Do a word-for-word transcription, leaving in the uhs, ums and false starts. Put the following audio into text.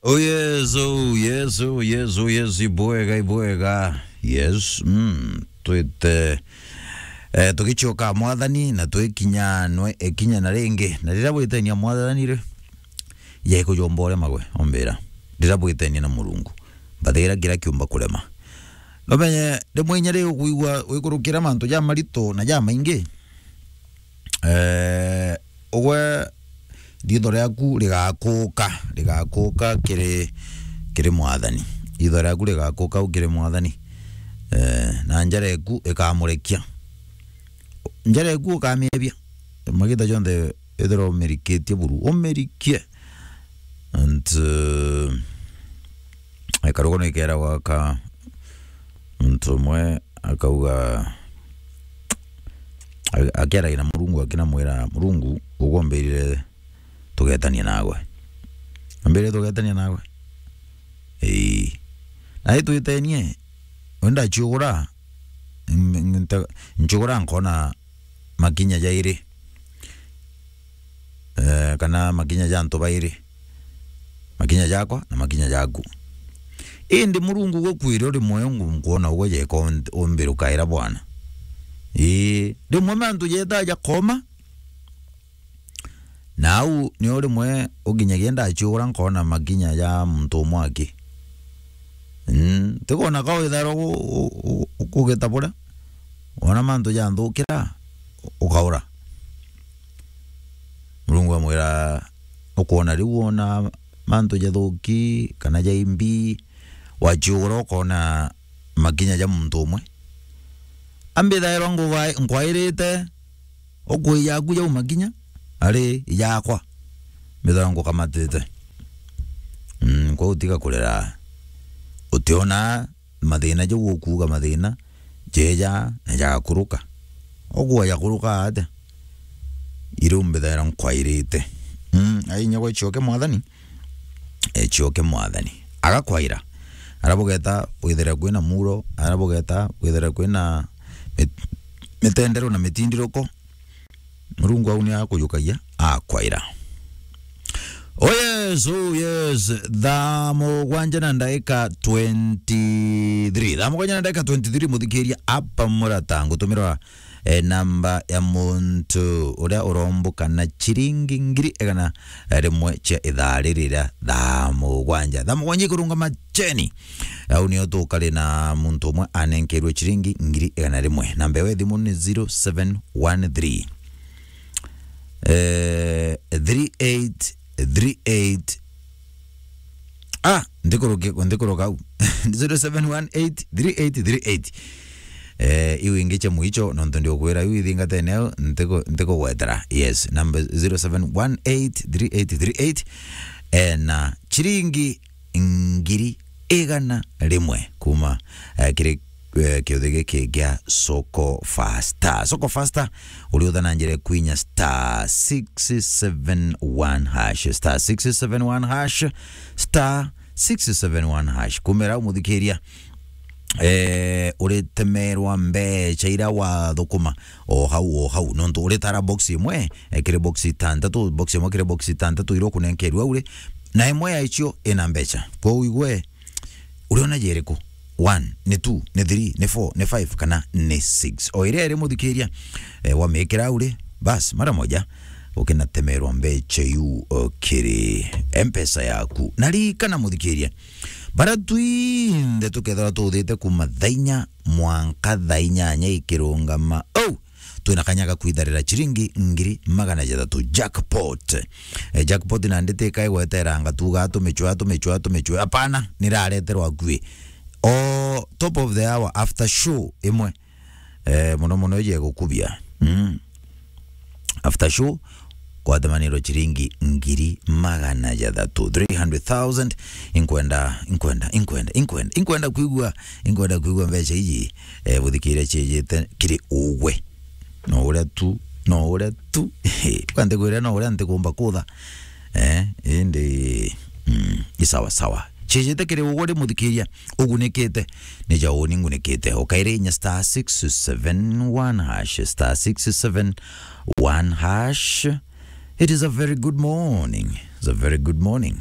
Oh yes, oh yes, oh yes, oh yes, ibwega, ibwega. Yes, mm, twite, eh, tugicoka Mwathani na twikinya nwe, ekinya na ringi. Na riria bwitenia Mwathani ri, ya ikujomba urema gwe, ombira. Riria bwitenia na Murungu, mbathigira kira kiumba kurema. Nomenye, rimwe inya ri ukwigua wikurukira mantu ja marito na ja maingi, eh, ugwe ritho riaku rigakuka, rigakuka kiri, kiri Mwathani. Ritho riaku rigakuka u kiri Mwathani. Eh, na njara eku ikamurekia. Njara eku ukamiebia. Magita jonthe ethirwa umirikitie buru, umirikie. And, uh, ekarugo ni kera gwaka muntu umwe akauga, a-, akiaragia na Murungu, akinamwira, "Murungu, ugombirire tugetania nawe. Ambire tugetania nawe." Ii. Na itwitenie, we ndaciugura, n-, n-, nta-, nciugura nkona makinya jairi. Eh, kana makinya ja antu bairi. Makinya jakwa na makinya jaku. Indi Murungu gukwira uri mwoyo ngu-, nkwona ugwe jeka un-, umbira ukaira bwana. Ii, rimwe mantu jeta jakoma. Na au nio rimwe ukinyagia ndaciugura nkona makinya ja muntu umwe aki. Mm, tikona ka withairwa u-, u-, u-, ukugita buria. Wona mantu janthukira, ukaura. Murungu amwira, ukwona riu wona mantu jathuki kana jaimbi, waciugura ukona makinya ja muntu umwe. Ambithairwa nguva-, nkwairite, ukui jaku jau makinya, ari ijakwa. Mbithairwa ngukamatite. Mm, kwa utiga kurira. Utiona mathina jau ukuuga mathina, jeja na jagakuruka. Ugwe jakuruka atia? Iriu mbithaira nkwairite. Mm, ai inya gwe cioke Mwathani, e, cioke Mwathani. Agakwaira. Ara bugeta bwithire kwina muro, ara bugeta bwithire kwina mit-, mitendero na mitindiruko, Murungu au ni akujukagia, akwaira. Oh yes, oh yes. Thaa mugwanja na ndagika twenty-three. Thaa mugwanja na ndagika twenty-three, muthikiria apa murata ngutumirwa, eh, namba ya muntu uria urombuka na ciringi ngiri igana rimwe cia ithaa riri ria thaa mugwanja. Thaa mugwanja ikurungama cheni. Au nio tukari na muntu umwe anenkerwe ciringi ngiri igana rimwe. Namba ya thimu ni zero seven one three, eh, three eight three eight. Ah, ndikuruki-, ndikuruka au. Zero seven one eight three eight three eight. Eh, iu ingi cia mwicho, nontu ndiukwira iu ithingatene au, ntiku-, ntikugwetera. Yes, number zero seven one eight three eight three eight. Eh, na ciringi ngiri igana rimwe kuma, eh, kiri, eh, kiuthi giki gia Soko Fasta. Soko Fasta, uri utha na njira kwinya star six seven one hash, star six seven one hash, star six seven one hash. Kumira umuthikiria, eh, uritemerwa mbecha ira wathukuma o hau, o hau. Nontu uritara box imwe, eh, kiri box itantatu, box imwe kiri box itantatu ira ukunenkerwa uri, na imwe ya icio ina mbecha. Kwou igwe, uriona jeriku? One, ni two, ni three, ni four, ni five, kana ni six. O iria iri muthikiria, eh, wamikira uri, bas, mara moja, ukinatemerwa mbecha iu, o, kiri M-Pesa yaku. Na ririkana muthikiria, bara twinthe tukethirwa tuthite kuma thaa inya mwanka thaa inyanya ikirungama. Oh! Twina kanya ga kwitharira ciringi ngiri magana jathatu. Jackpot. Eh, jackpot nandi ti ka igweteranga tuga tumicwa, tumicwa, tumicwa. Hapana, nirareterwa akui. O top of the hour, after show imwe. Eh, muno muno ije gukubia. Mm. After show, kwatemanirwa ciringi ngiri magana jathatu, three hundred thousand. Inkwenda, inkwenda, inkwenda, inkwenda, inkwenda kwigua, inkwenda kwigua mbeca iji, eh, buthikiria ciejete kiri ugwe. No uria tu, no uria tu. Kwanti kwira no uria ntikumba kutha. Eh, indi, mm, i sawa sawa. Ciejete kiri ugwe ri muthikiria, ugunikite. Ni ja uni ngunikite. Ukaire inya star six seven one hash, star six seven one hash. It is a very good morning. It's a very good morning.